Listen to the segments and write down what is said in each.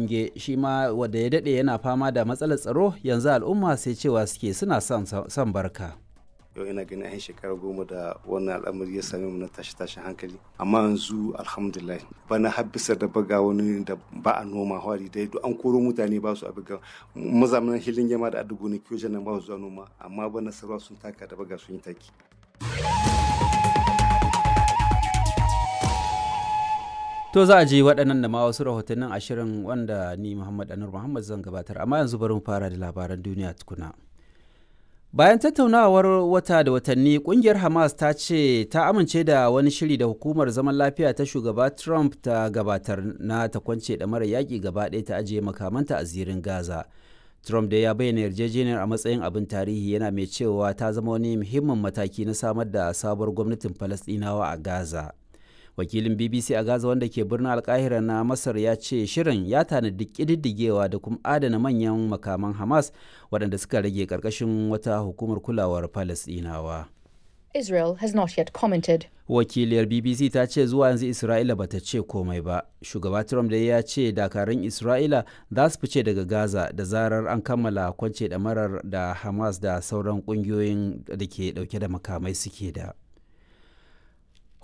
Inge shi ma wanda ya daɗe yana fama da matsalar tsaro yanzu al'umma sai cewa suke suna son barka. Yau ina ganin an shekara 10 da wannan al'amari ya same mu na tashi tashin hankali, amma yanzu alhamdulillah bana har bisa da baga wani da ba a noma hwari dai duk an koro mutane ba su abiga mazamanin hilin yama da adugo ne kiyo nan ba su zuwa noma, amma bana sarwa sun taka da baga sun yi taki. To za a ji waɗannan da ma wasu rahotannin ashirin wanda ni Muhammad Anur Muhammad zan gabatar, amma yanzu bari mu fara da labaran duniya tukuna. Bayan tattaunawar wata da watanni, kungiyar Hamas ta ce ta amince da wani shiri da hukumar zaman lafiya ta shugaba Trump ta gabatar na ta kwance mara yaƙi gaba ɗaya ta ajiye makamanta a zirin Gaza. Trump da ya bayyana yarjejeniyar a matsayin abin tarihi, yana mai cewa ta zama wani muhimmin mataki na samar da sabuwar gwamnatin Falasɗinawa a Gaza. Wakilin BBC a Gaza wanda ke birnin Alkahira na Masar ya ce shirin ya tanadi ƙididdigewa da kuma adana manyan makaman Hamas waɗanda suka rage ƙarƙashin wata hukumar kulawar Falasɗinawa. Israel has not yet commented. Wakiliyar BBC ta ce zuwa yanzu Isra'ila bata ce komai ba. Shugaba Trump dai ya ce dakarun Isra'ila za su fice daga Gaza da zarar an kammala kwance ɗamarar da Hamas da sauran ƙungiyoyin da ke ɗauke da makamai suke da.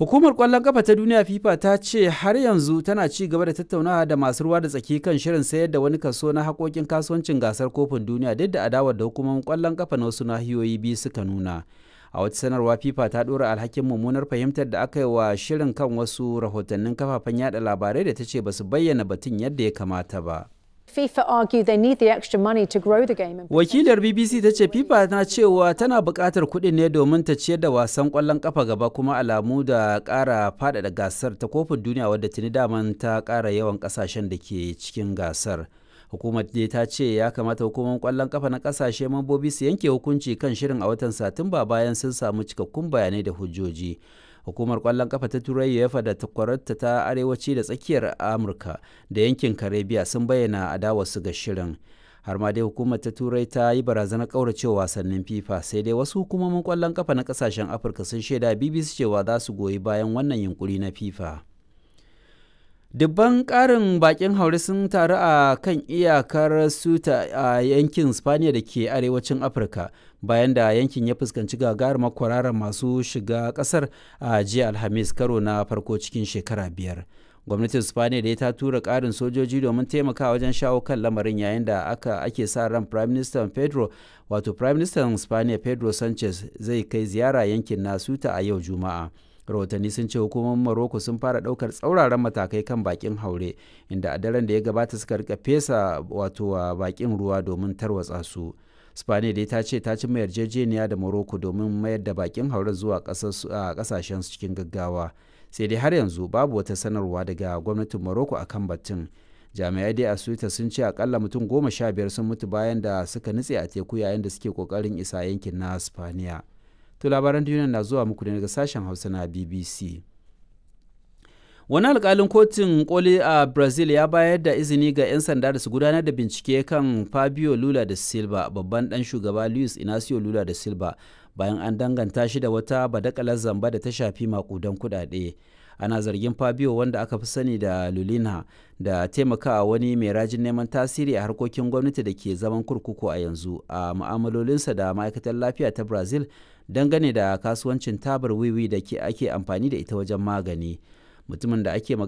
Hukumar ƙwallon ƙafa ta duniya FIFA ta ce har yanzu tana ci gaba da tattaunawa da masu ruwa da tsaki kan shirin sayar da wani kaso na haƙoƙin kasuwancin gasar kofin duniya, duk da adawar da hukumomin ƙwallon ƙafa na wasu nahiyoyi biyu suka nuna. A wata sanarwa, FIFA ta ɗora alhakin mummunar fahimtar da aka yi wa shirin kan wasu rahotannin kafafen yada labarai da ta ce ba su bayyana batun yadda ya kamata ba. FIFA argue they need the extra money to grow the game. Wakilar BBC ta ce FIFA na cewa tana buƙatar kuɗin ne domin ta ciyar da wasan ƙwallon ƙafa gaba, kuma alamu da ƙara faɗaɗa gasar ta kofin duniya wadda tuni daman ta ƙara yawan ƙasashen da ke cikin gasar. Hukumar dai ta ce ya kamata hukumar ƙwallon ƙafa na ƙasashe mambobi su yanke hukunci kan shirin a watan Satumba bayan sun samu cikakkun bayanai da hujjoji. Hukumar kwallon kafa ta Turai UEFA da takwararta ta arewaci da tsakiyar Amurka da yankin Karibiya sun bayyana adawarsu ga shirin. Har ma dai hukumar ta Turai ta yi barazanar kauracewa wasannin FIFA, sai dai wasu hukumomin kwallon kafa na kasashen Afirka sun shaida BBC cewa za su goyi bayan wannan yunkuri na FIFA. Dubban ƙarin bakin haure sun taru a kan iyakar Ceuta a yankin Spaniya da ke arewacin Afirka bayan da yankin ya fuskanci gagarumar kwararar masu shiga ƙasar a jiya Alhamis, karo na farko cikin shekara 5. Gwamnatin Spaniya da ta tura ƙarin sojoji domin taimakawa wajen shawo kan lamarin, yayin da aka ake sa ran Prime Minister Pedro wato Prime Minister Spaniya Pedro Sanchez zai kai ziyara yankin na Ceuta a yau Juma'a. Rahotanni sun ce hukumomin Morocco sun fara daukar tsauraran matakai kan bakin haure, inda a daren da ya gabata suka rika fesa wato wa bakin ruwa domin tarwatsa su. Spaniya dai ta ce ta ci mai yarjejeniya da Morocco domin mayar da bakin haure zuwa kasashen cikin gaggawa, sai dai har yanzu babu wata sanarwa daga gwamnatin Morocco akan batun. Jami'ai dai a Suita sun ce akalla mutum 15 sun mutu bayan da suka nutse a teku yayin da suke kokarin isa yankin na Spaniya. To labaran duniya na zuwa muku ne daga sashen Hausa na BBC. Wani alkalin kotun koli a Brazil ya bayar da izini ga 'yan sanda da su gudanar da bincike kan Fabio Lula da Silva, babban dan shugaba Luis Inacio Lula da Silva, bayan an danganta shi da wata badakalar zamba da ta shafi makudan kudade. Ana zargin Fabio, wanda aka fi sani da Lulina, da taimakawa wani mai rajin neman tasiri a harkokin gwamnati da ke zaman kurkuku a yanzu a mu'amalolinsa da ma'aikatar lafiya ta Brazil dangane da kasuwancin tabar wiwi da ke ake amfani da ita wajen magani. Mutumin da ake magana